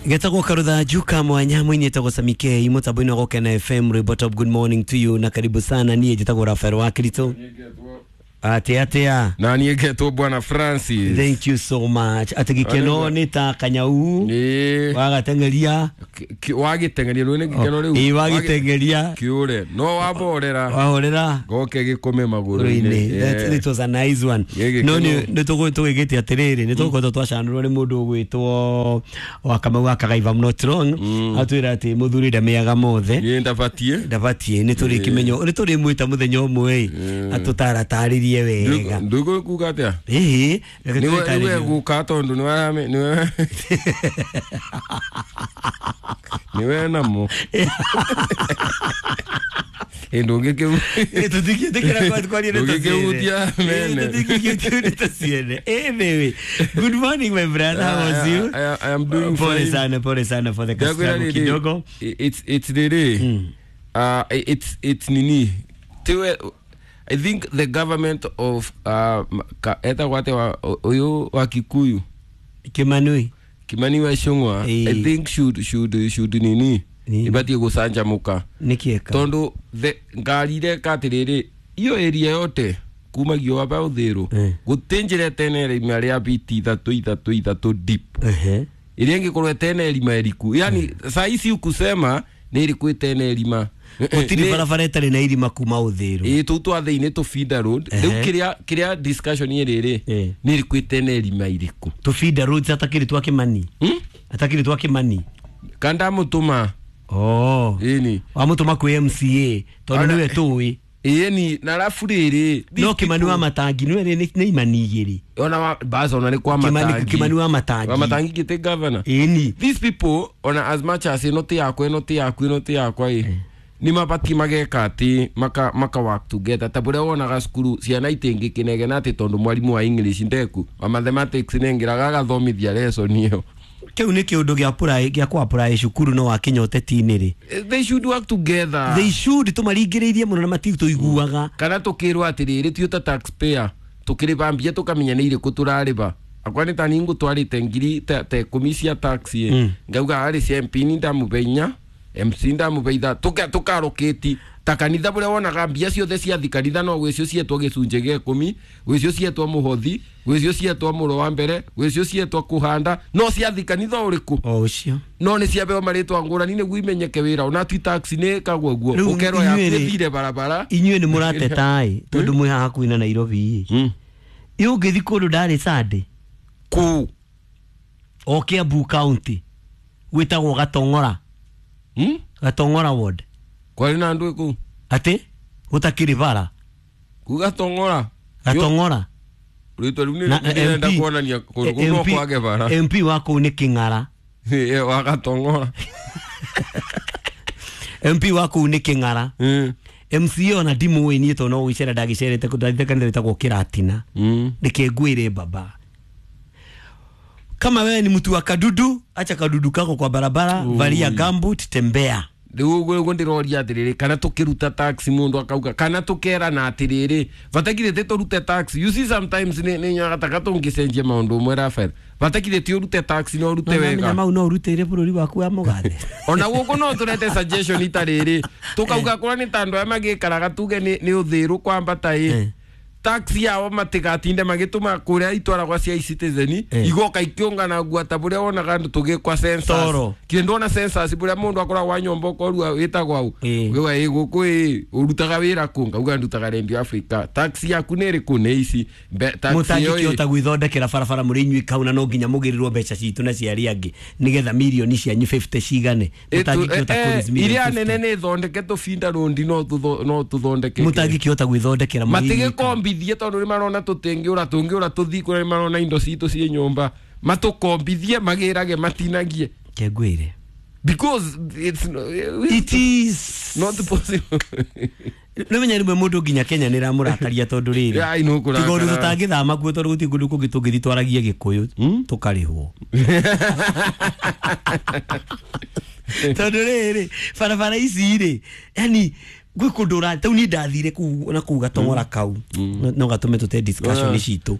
Getagwo Karutha Juka mwanya mwini etagwo Samikei mutambo-inĩ wa Gũkena FM rwĩmbo top. Good morning to you na karibu sana. Niĩ njĩtagwo Rafael Wakirito. Atia atia. Na niĩ ngetwo Bwana Francis. Thank you so much. Atĩ gĩkeno nĩ ta kanyau wagateng'eria. Wagĩteng'eria rũĩ nĩ gĩkeno rĩu. Ĩĩ, wagĩteng'eria. Kĩũre no wamborera. Wahorera goke gĩkũme magũrũ-inĩ. That it was a nice one. No nĩ tũgĩgĩte atĩrĩrĩ, nĩ tũgũkoretwo twacanũrwo nĩ mũndũ ũgwĩtwo wa Kamau wa Kagai, if I'm not wrong, atwĩra atĩ mũthuri ndamĩaga mothe. Niĩ ndabatiĩ. Ndabatiĩ nĩ tũrĩkĩmenya nĩ tũrĩmwĩta mũthenya ũmwe ĩ atũtaratarĩrie wega. Ndũgũkuga atĩa? Ĩĩ, reke Nĩwe tũrĩtarĩrie. guka tondũ nĩwe nĩwe namo ndũngĩkĩhutia mene. Tũtingĩkĩhutia ciene. Anyway, good morning my brother, how was you? I am doing pole fine. Sana, pole sana for the Ndakwĩra customer rĩrĩ, kidogo. It's rĩrĩ, it's nini tiwe. I think the government of etagwo atĩa ũyũ wa Kikuyu? Kimanui. Kimani wa Ichung'wa. I think should nini ibatiĩ gũcanjamũka. Nĩkĩeka? Tondũ ngari ireka atĩrĩrĩ, iyo area yote kumagio waba ũthĩrũ gũtĩ njĩra ĩtene irima rĩa biti ithatũ ithatũ ithatũ deep ĩrĩa ĩngĩkorwo ĩtene irima ĩriku, yani saa ici ukusema nĩ ĩrĩkũ ĩtene irima. Gũtirĩ barabara ĩtarĩ na irima kuma ũthĩrũ. Ĩĩ, tũu twa thĩinĩ tũ feeder road. Rĩu kĩrĩa discussion ĩrĩrĩ nĩ ĩrĩkũ ĩtene irima irĩkũ. Tũ feeder roads atakĩrĩ twa Kimani. Atakĩrĩ twa Kimani. Kandamũtũma. Oh. Ĩni. Wamũtũma kwĩ MCA tondũ nĩwe tũĩ. Ĩni na arabu rĩrĩ no Kimani wa Matangi nĩwe nĩ imani igĩrĩ. Ona wa bas ona nĩ kwa Matangi. Kimani wa Matangi. Wa Matangi gĩtĩ governor. Ĩni. These people ona as much as ĩno ti yakwa ĩno ti yaku ĩno ti yakwa ĩ nĩ mabatiĩ mageka atĩ maka work together ta bũrĩa wonaga cukuru ciana itingĩkĩnegena atĩ tondũ mwarimũ wa English ndeku wa mathematics nĩengĩraga agathomithia lesson ĩyo. Kĩu nĩ kĩũndũ gĩa kũ apply cukuru no wakinya ũteti-inĩ rĩ. They should work together. They should, tũmaringĩrĩirie mũno na matitũiguaga. Kana tũkĩrwo atĩrĩrĩ tuĩ ta taxpayer tũkĩrĩba mbia tũkamenya nĩ irĩkũ tũrarĩba. Akwa nĩ ta niĩ ngũtwarĩte ngiri ta ikũmi cia tax ĩ ngauga harĩ cia MP nĩ ndamũbe inya, MC ndamũbe ithatũ, tũkarokĩti ta kanitha bũrĩa wonaga mbia ciothe ciathi kanitha no gwĩcio cietwo gĩcunjĩ gĩa ikũmi, gwĩcio cietwo mũhothi, gwĩcio cietwo mũro wa mbere, gwĩcio cietwo kũhanda, no ciathi kanitha ũrĩkũ? O ũcio. No nĩ ciambeo marĩtwa ngũrani nĩguo imenyeke wĩra ona ti tax nĩ ĩkagwo ũguo ũkerwo yaku ĩthire barabara. Inyuĩ nĩ mũrateta ĩ tondũ mwĩ haha hakuhĩ na Nairobi ĩ. Ĩ ũngĩthiĩ kũndũ ndarĩ Sunday kũ o Kiambu County gwĩtagwo Gatong'ora. Gatong'ora ward. Kwarĩ na andũ kũu? Atĩ gũtakĩrĩ bara. Kũ Gatong'ora? Gatong'ora. Rĩtwa rĩu nĩ rĩrenda kuonania kũndũ kũu no kwage bara. MP wa kũu nĩ Kĩng'ara. Wa Gatong'ora. MP wa kũu nĩ Kĩng'ara. MCA ona ndimũĩ niĩ tondũ no gũgĩcera ndagĩcerete kũndũ ndathiĩte kanitha wĩtagwo Kĩratina. Reke ngwĩre baba. Kama wewe ni mtu wa kadudu, acha kadudu kako kwa barabara, valia gumboot, tembea. Rĩu ũguo ndĩroria atĩrĩrĩ, kana tũkĩruta tax mũndũ akauga kana tũkerana atĩrĩrĩ batakire tĩ tũrute tax. You see sometimes nĩ nyonaga ta tũngĩcenjia maũndũ ũmwe Rafael, batakire ti ũrute tax no ũrute wega. Mau no ũrutĩire bũrũri waku wa mũgathe. Ona gũkũ no tũrete suggestion itarĩrĩ tũkauga kũrĩa nĩ ta andũ aya magĩikaraga tuge nĩ ũthĩrũ kwambata ĩ tax yao matigatinde magĩtũma kũrĩa itwaragwa cia e-citizen igoka ikĩũngana ngua ta bũrĩa wonaga andũ tũgĩkwa census kĩndũ wona census bũrĩa mũndũ akoragwo wa nyũmba ũkorua wĩtagwo au ũgauga ĩ gũkũ ĩ ũrutaga wĩra kũ ngauga ndutaga Radio Africa tax yaku nĩ ĩrĩkũ nĩ ici mũtangĩkĩhota gwĩthondekera barabara mũrĩ inyuĩ kau na no nginya mũgĩrĩrwo mbeca citũ na cia arĩa angĩ nĩgetha mirioni cianyu 50 cigane. Mũtangĩkĩhota kũraise mirioni iria nene nĩ thondeke tũbinda rũndi no tũthondeke mũtangĩkĩhota gwĩthondekera matigĩkombithie tondũ nĩ marona tũtingĩũra tũngĩũra tũthiĩ kũrĩa nĩ marona indo citũ ciĩ nyũmba matũkombithie magĩrage matinagie. Kengwĩre because it is not possible. Nĩ menya rĩmwe mũndũ nginya Kenya nĩ ĩramũrakaria tondũ rĩrĩ tiga ũndũ tũtangĩthama kuo tondũ gũtirĩ kũndũ kũngĩ tũngĩthiĩ twaragie Gĩkũyũ tũkarĩhwo. Tondũ rĩrĩ barabara ici rĩ yani gwĩ kũndũ ũra tau niĩ ndathire kũu na kũu Gatong'ora kau no gatũme tũte discussion citũ.